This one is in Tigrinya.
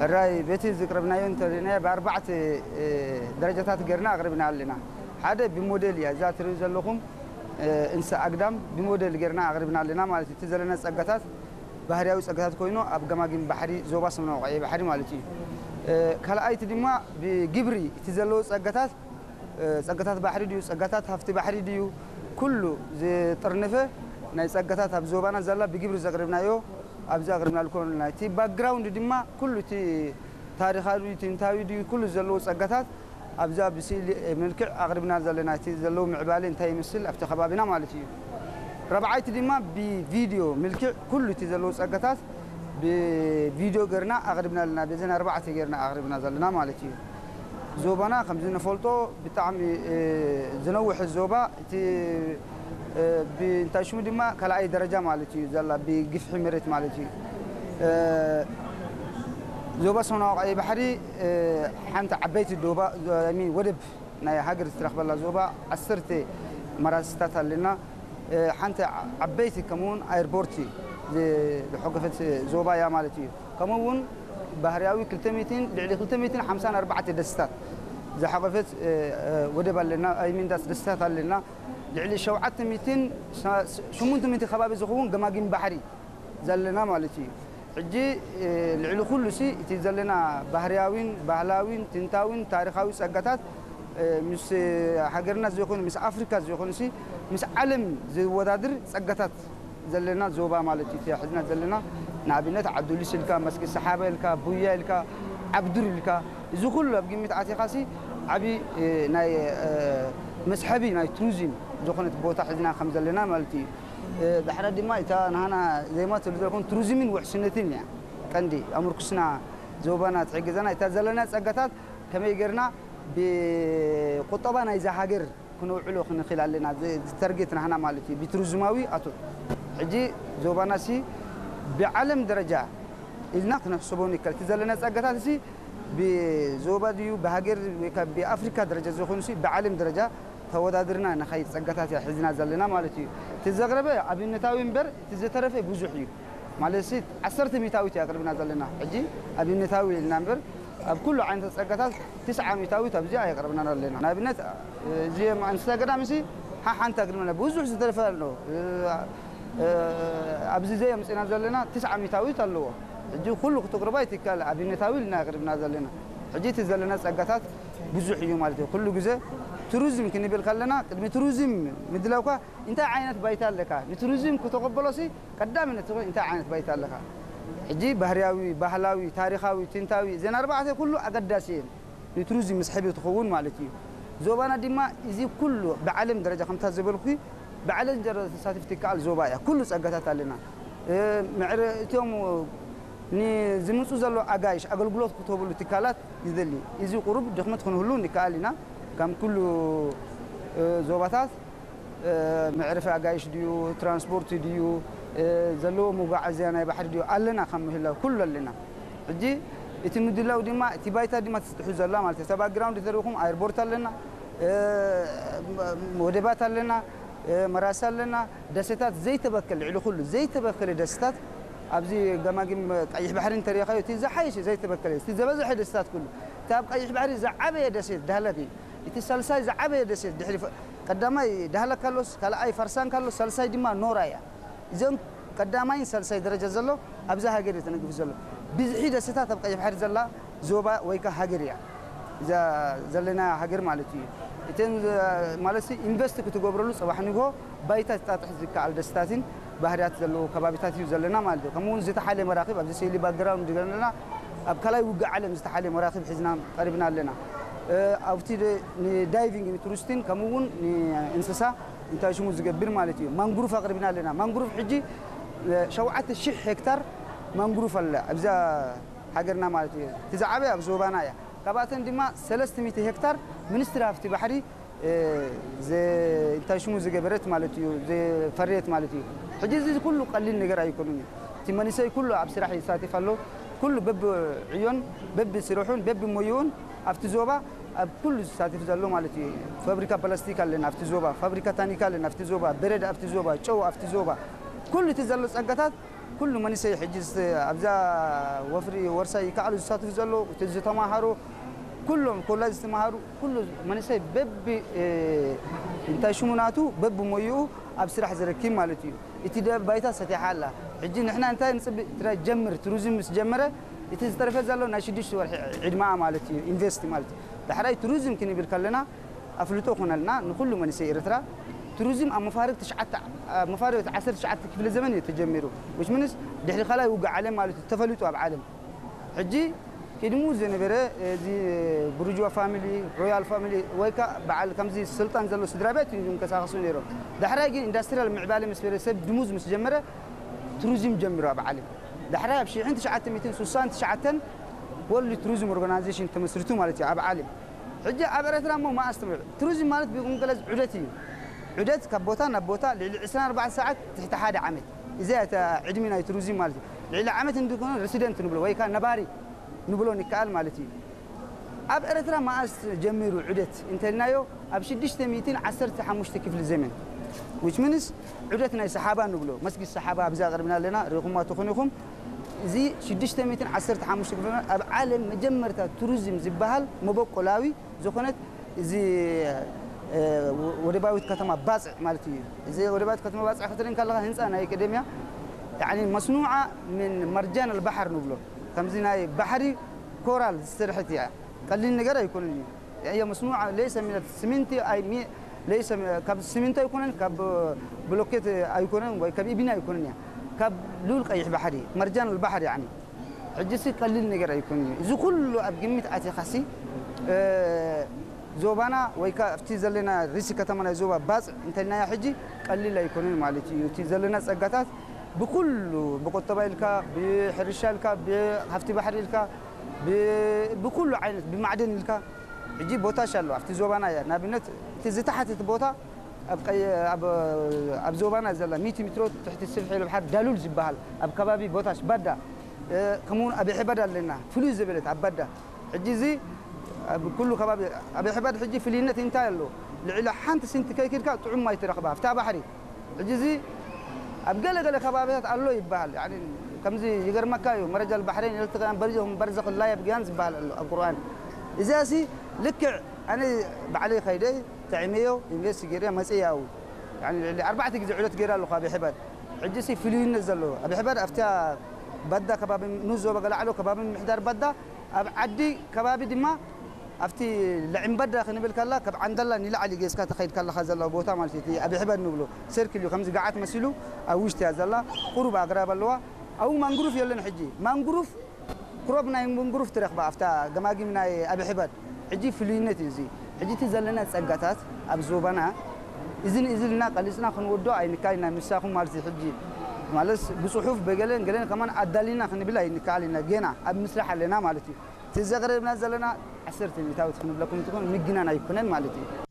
ሕራይ በቲ ዝቅረብናዮ እንተሪእናዮ ብኣርባዕተ ደረጃታት ገርና ኣቅርብና ኣለና። ሓደ ብሞዴል እያ እዛ ትሪኡ ዘለኹም እንስሳ ኣግዳም ብሞዴል ገርና ኣቅርብና ኣለና ማለት እዩ። እቲ ዘለና ጸጋታት ባህርያዊ ጸጋታት ኮይኑ ኣብ ገማግም ባሕሪ ዞባ ሰምናዊ ቀይሕ ባሕሪ ማለት እዩ። ካልኣይቲ ድማ ብግብሪ እቲ ዘለዎ ጸጋታት ጸጋታት ባሕሪ ድዩ ጸጋታት ሃፍቲ ባሕሪ ድዩ ኩሉ ዝጥርንፈ ናይ ጸጋታት ኣብ ዞባና ዘላ ብግብሪ ዘቅርብናዮ ኣብዚ ኣቅርብና ልኮን ናይቲ ባክግራውንድ ድማ ኩሉ እቲ ታሪኻዊ ትንታዊ ድዩ ኩሉ ዘለዎ ጸጋታት ኣብዛ ብስእሊ መልክዕ ኣቅርብና ዘለና እቲ ዘለዎ ምዕባለ እንታይ ይመስል ኣብቲ ከባቢና ማለት እዩ። ረብዓይቲ ድማ ብቪድዮ ምልክዕ ኩሉ እቲ ዘለዎ ጸጋታት ብቪድዮ ገርና ኣቅርብና ኣለና። በዘን ኣርባዕተ ገርና ኣቅርብና ዘለና ማለት እዩ። ዞባና ከምዚ ንፈልጦ ብጣዕሚ ዝነውሐ ዞባ እቲ እንታይ ሽሙ ድማ ካልኣይ ደረጃ ማለት እዩ ዘላ ብግፍሒ መሬት ማለት እዩ። ዞባ ሰማናዊ ቀይ ባሕሪ ሓንቲ ዓበይቲ ዶባ ወደብ ናይ ሃገር ዝተረኽበላ ዞባ ዓሰርተ መራስታት ኣለና። ሓንቲ ዓበይቲ ከምኡውን ኣይርቦርቲ ዝሐገፈት ዞባ እያ ማለት እዩ። ከምኡ እውን ባህርያዊ ልዕሊ ክልተ ሚእትን ሓምሳን ኣርባዕተ ደስታት ዝሓቆፈት ወደብ ኣለና ኣይሚንዳስ ደስታት ኣለና። ልዕሊ ሸውዓተ ሚእትን ሸሙንተ ሚእቲ ከባቢ ዝኸውን ገማጊም ባሕሪ ዘለና ማለት እዩ። ሕጂ ልዕሊ ኩሉ ሲ እቲ ዘለና ባህርያዊን ባህላዊን ትንታዊን ታሪኻዊ ጸጋታት ምስ ሃገርና ዘይኮኑ ምስ ኣፍሪካ ዘይኮኑ ሲ ምስ ዓለም ዝወዳድር ጸጋታት ዘለና ዞባ ማለት እዩ። ሕዝና ዘለና ንኣብነት ዓብዱሊስ ኢልካ መስጊድ ሰሓባ ኢልካ ቡያ ኢልካ ዓብዱር ኢልካ እዚ ኩሉ ኣብ ግምት ኣቲኻሲ ዓብዪ ናይ መስሐቢ ናይ ቱሪዝም ዝኾነት ቦታ ሕዝና ከም ዘለና ማለት እዩ። ዳሕራ ድማ እታ ንሃና ዜማ ትብል ዘለኹም ቱሪዝምን ውሕስነትን እያ ቀንዲ ኣምርኩስና ዞባና ትሕግዘና እታ ዘለና ጸጋታት ከመይ ጌርና ብቁጠባ ናይዛ ሃገር ክነውዕሎ ክንኽእል ኣለና ዝተርጌት ናህና ማለት እዩ ብቱሪዝማዊ ኣቶ ሕጂ ዞባና ሲ ብዓለም ደረጃ ኢልና ክንሕስቦ ንከል እቲ ዘለና ጸጋታት ሲ ብዞባ ድዩ ብሃገር ወይ ብኣፍሪካ ደረጃ ዝኾኑ ሲ ብዓለም ደረጃ ተወዳድርና ንኸይድ ጸጋታት እያ ሒዝና ዘለና ማለት እዩ። እቲ ዘቕረበ ኣብነታዊ እምበር እቲ ዝተረፈ ብዙሕ እዩ። ማለት ሲ ዓሰርተ ሚታዊት እያ ኣቕርብና ዘለና። ሕጂ ኣብነታዊ ኢልና እምበር ኣብ ኩሉ ዓይነት ጸጋታት ትስዓ ሚታዊት ኣብዚ ኣየቕርብና ኣለና። ንኣብነት እዚ እንስሳ ገዳም ሲ ሓሓንቲ ኣቕርብና ብዙሕ ዝተረፈ ኣሎ። ኣብዚ ዘየምፅና ዘለና ትስዓ ሚታዊት ኣለዎ። ሕጂ ኩሉ ክትቕርባ ይትካል ኣብነታዊ ኢልና ኣቕርብና ዘለና። ሕጂ እቲ ዘለና ጸጋታት ብዙሕ እዩ ማለት እዩ። ኩሉ ግዜ ቱሪዝም ክንብል ከለና ቅድሚ ቱሪዝም ምድላውካ እንታይ ዓይነት ባይታ ኣለካ ንቱሪዝም ክተቐበሎሲ ቀዳምነት ትኾን እንታይ ዓይነት ባይታ ኣለካ? ሕጂ ባህርያዊ፣ ባህላዊ፣ ታሪኻዊ፣ ትንታዊ እዘን ኣርባዕተ ኩሉ ኣገዳሲ እየን ንቱሪዝም መስሕቢ ትኸውን ማለት እዩ። ዞባና ድማ እዚ ኩሉ ብዓለም ደረጃ ከምታ ዝበልኩ ብዓለም ደረጃ ተሳትፍቲ ይከኣል ዞባ እያ። ኩሉ ጸጋታት ኣለና። ምዕረ እቶም ንዝምፁ ዘሎ ኣጋይሽ ኣገልግሎት ክትህብሉ ትካላት ይደሊ። እዚ ቁሩብ ድኽመት ክንህሉ ንከኣል ኢና። ከም ኩሉ ዞባታት መዕረፊ ኣጋይሽ ድዩ ትራንስፖርት ድዩ ዘለዎ መጓዓዝያ ናይ ባሕሪ ድዩ ኣለና ከም ምህላው ኩሉ ኣለና። ሕጂ እቲ ምድላው ድማ እቲ ባይታ ድማ ትስጥሑ ዘላ ማለት እዩ። እታ ባክግራውንድ ተሪኹም ኣየርፖርት ኣለና፣ ወደባት ኣለና፣ መራሲ ኣለና፣ ደሴታት ዘይተበከለ ልዕሊ ኩሉ ዘይተበከለ ደሴታት ኣብዚ ገማግም ቀይሕ ባሕሪ እንተሪኻዮ እቲ ዝሓየሸ ዘይተበከለ እቲ ዝበዝሐ ደሴታት ኩሉ እቲ ኣብ ቀይሕ ባሕሪ ዝዓበየ ደሴት ዳህለክ እዩ። እቲ ሳልሳይ ዝዓበየ ደሴት ድሕሪ ቀዳማይ ዳህለክ ካሎስ ካልኣይ ፋርሳን ካሎስ ሳልሳይ ድማ ኖራ እያ። እዚኦም ቀዳማይን ሳልሳይ ደረጃ ዘሎ ኣብዛ ሃገር እዩ ተነጊፉ ዘሎ። ብዝሒ ደሴታት ኣብ ቀይሕ ባሕሪ ዘላ ዞባ ወይ ከ ሃገር እያ እዛ ዘለና ሃገር ማለት እዩ። እተን ማለት ኢንቨስት ክትገብረሉ ጽባሕ ንግሆ ባይታ ትጣጥሕ ዝከኣል ደስታትን ባህርያት ዘለዎ ከባቢታት እዩ ዘለና ማለት እዩ። ከምኡ እውን ዝተሓለ መራክብ ኣብዚ ስእሊ ባክግራውንድ ዘለና ኣብ ካልኣይ ውግእ ዓለም ዝተሓለ መራክብ ሒዝና ቀሪብና ኣለና። ኣብቲ ንዳይቪንግ ንቱሪስትን ከምኡ እውን ንእንስሳ እንታይ ሽሙ ዝገብር ማለት እዩ። ማንግሩፍ ኣቅሪብና ኣለና። ማንግሩፍ ሕጂ ሸውዓተ ሺሕ ሄክታር ማንግሩፍ ኣለ ኣብዛ ሃገርና ማለት እዩ። እቲ ዝዓበየ ኣብ ዞባና እያ። ካብኣተን ድማ ሰለስተ ሚእቲ ሄክታር ሚኒስትሪ ሃፍቲ ባሕሪ እንታይ ሽሙ ዝገበረት ማለት እዩ ዝፈረየት ማለት እዩ። ሕጂ እዚ ኩሉ ቀሊል ነገር ኣይኮኑን እዩ። እቲ መንእሰይ ኩሉ ኣብ ስራሕ ይሳተፍ ኣሎ። ኩሉ በብዕዮን በብስርሑን በብሞይኡን ኣብቲ ዞባ ኣብ ኩሉ ዝሳተፍ ዘሎ ማለት እዩ። ፋብሪካ ፕላስቲክ ኣለና ኣብቲ ዞባ፣ ፋብሪካ ታኒካ ኣለና ኣብቲ ዞባ፣ በረድ ኣብቲ ዞባ፣ ጨው ኣብቲ ዞባ፣ ኩሉ እቲ ዘሎ ጸጋታት ኩሉ መንእሰይ ሕጂ ኣብዛ ወፍሪ ወርሳይ ይከኣሉ ዝሳትፉ ዘሎ እቲ ዝተማሃሩ ኩሎም ኮላጅ ዝተማሃሩ ኩሉ መንእሰይ በቢ እንታይ ሽሙ ናቱ በቢ ሞይኡ ኣብ ስራሕ ዝረኪብ ማለት እዩ። እቲ ባይታ ሰቲሓ ኣላ። ሕጂ ንሕና እንታይ ንፅብእ ትራይ ጀምር ቱሪዝም ምስ ጀመረ እቲ ዝተረፈ ዘሎ ናይ ሽዱሽተ ወርሒ ዕድመኣ ማለት እዩ። ኢንቨስት ማለት እዩ። ዳሕራይ ቱሪዝም ክንብል ከለና ኣፍልጦ ኮነልና ንኩሉ መንእሰይ ኤርትራ ቱሪዝም ኣብ መፋርቅ ትሽዓተ ኣብ መፋርቅ ዓሰርተ ትሽዓተ ክፍለ ዘመን እዩ ተጀሚሩ። which means ድሕሪ ካልኣይ ውግእ ዓለም ማለት እዩ ተፈሊጡ ኣብ ዓለም። ሕጂ ቅድሙ ዝነበረ እዚ ብሩጅዋ ፋሚሊ ሮያል ፋሚሊ ወይ ከዓ በዓል ከምዚ ስልጣን ዘሎ ስድራ ቤት እዩ ዝንቀሳቀሱ ነይሮም። ዳሕራይ ግን ኢንዳስትሪያል ምዕባለ ምስ በለ ሰብ ድሙዝ ምስ ጀመረ ቱሪዝም ጀሚሩ ኣብ ዓለም። ዳሕራይ ኣብ ሽሕን ትሽዓተ ሚእትን ስሳን ትሽዓተን ወርልድ ቱሪዝም ኦርጋናይዜሽን ተመስርቱ ማለት እዩ ኣብ ዓለም። ሕጂ ኣብ ኤረትራ እሞ መኣስ ትምዕ ቱሪዝም ማለት ብቁንቀለዝ ዑደት እዩ። ዑደት ካብ ቦታ ናብ ቦታ ልዕሊ ዕስራን ኣርባዕተን ሰዓት ትሕቲ ሓደ ዓመት። እዚኣ እታ ዕድሚ ናይ ቱሪዝም ማለት እዩ። ልዕሊ ዓመት እንድኮነ ሬሲደንት ንብሎ ወይ ከዓ ነባሪ ንብሎ ንከኣል ማለት እዩ። ኣብ ኤረትራ መኣስ ጀሚሩ ዑደት እንተልናዮ ኣብ ሽዱሽተ ሚእትን ዓሰርተ ሓሙሽተ ክፍሊ ዘመን which means ዑደት ናይ ሰሓባ ንብሎ መስጊድ ሰሓባ ኣብዚ ኣቅርብና ኣለና ሪኹማ ትኾኑ ኢኹም። እዚ ሽዱሽተ ሚእትን ዓሰርተ ሓሙሽተ ክፍሊ ዘመን ኣብ ዓለም መጀመርታ ቱሪዝም ዝበሃል መበቆላዊ ዝኾነት እዚ ወደባዊት ከተማ ባፅዕ ማለት እዩ። እዚ ወደባዊት ከተማ ባፅዕ ክትርኢ ከለካ ህንፃ ናይ ቀደምያ يعني مصنوعة من مرجان البحر ንብሎ ከምዚ ናይ ባሕሪ ኮራል ዝስርሐት እያ። ቀሊል ነገር ኣይኮነን እዩ። هي مصنوعة ليس من السمنت أي مي- ليس من- ካብ ስሚንቶ ኣይኮነን ካብ ብሎኬት ኣይኮነን ወይ ካብ ኢቢና ኣይኮነን እያ። ካብ ልኡል ቀይሕ ባሕሪ መርጃን ባሕሪ يعني ሕጂ ሲ ቀሊል ነገር ኣይኮነን እዩ። እዚ ኩሉ ኣብ ግምት ኣቲኻሲ እ፣ ዞባና ወይ ከዓ ኣብቲ ዘለና ሪሲ ከተማ ናይ ዞባ ባፅዕ እንተልናያ ሕጂ ቀሊል ኣይኮነን ማለት እዩ። እቲ ዘለና ፀጋታት ብኩሉ ብቁጠባ ኢልካ ብሕርሻ ኢልካ ብሃፍቲ ባሕሪ ኢልካ ብ- ብኩሉ ዓይነት ብማዕድን ኢልካ ሕጂ ቦታሽ ኣሎ ኣብቲ ዞባና እያ ንኣብነት እቲ ዝተሓትት ቦታ ኣብ ቀይ- ኣብ- ኣብ ዞባና ዘላ ሚእቲ ሜትሮ ትሕቲ ስፍሒ ባሕር ዳሉል ዝበሃል ኣብ ከባቢ ቦታሽ ባዳ እ፣ ከምኡውን ኣብ ሕበድ ኣለና ፍሉይ ዝበለት ኣብ ባዳ ሕጂ እዚ ኣብ ኩሉ ከባቢ ኣብ ሕበድ ሕጂ ፍልይነት እንታይ ኣሎ ልዕሊ ሓንቲ ስንቲ ከይክድካ ጥዑም ማይ ትረኽባ ኣብታ ባሕሪ ሕጂ እዚ ኣብ ገለ ገለ ከባቢታት ኣሎ ይበሃል። ያኒ ከምዚ ይገርመካ እዩ መረጃ ባሕሬን ኢለትካ በርዘኹም በርዘኽ ላ የብግያን ዝበሃል ኣሎ ኣብ ቁርኣን። እዚኣ ሲ ልክዕ ኣነ ባዕለይ ከይደ ተዕመዮ ኢንቨስት ገይረ መፅእ ያው ያኒ ልዕሊ ኣርባዕተ ግዜ ዑደት ገይረ ኣለኹ ኣብ ሕባድ። ሕጂ ሲ ፍልይነት ዘለዎ ኣብ ሕባድ ኣብታ ባዳ ከባቢ ንዞበ ገላዕሎ ከባቢ ምሕዳር ባዳ ኣብ ዓዲ ከባቢ ድማ ኣብቲ ለዕምበዳ ክንብል ከላ ካብ ዓንደላ ንላዕሊ ጌስካ ተኸይድ ከለኻ ዘሎ ቦታ ማለት እዩ። እቲ ኣብ ሕበድ ንብሎ ሰርክል እዩ። ከምዚ ገዓት መሲሉ ኣብ ውሽጢ እያ ዘላ። ቁሩብ ኣግራብ ኣለዋ። ኣብኡ ማንግሩፍ የለን። ሕጂ ማንግሩፍ ክሮብ ናይ ማንግሩፍ ትረኽባ ኣብታ ገማጊም ናይ ኣብ ሕበድ። ሕጂ ፍሉይነት እዩ እዚ። ሕጂ እቲ ዘለና ጸጋታት ኣብ ዞባና እዝን እዝልና ቀሊጽና ክንወዶ ኣይንካይና ምሳኹም ማለት እዩ። ሕጂ ማለት ብጽሑፍ በገለን ገለን ከማን ኣዳሊና ክንብል ኣይንካል ኢና። ገና ኣብ ምስራሕ ኣለና ማለት እዩ። እቲ ዘቕረብና ዘለና ዓሰርተ ሚእታዊት ክንብለኩም እንትኾን ምግናን ኣይኮነን ማለት እዩ።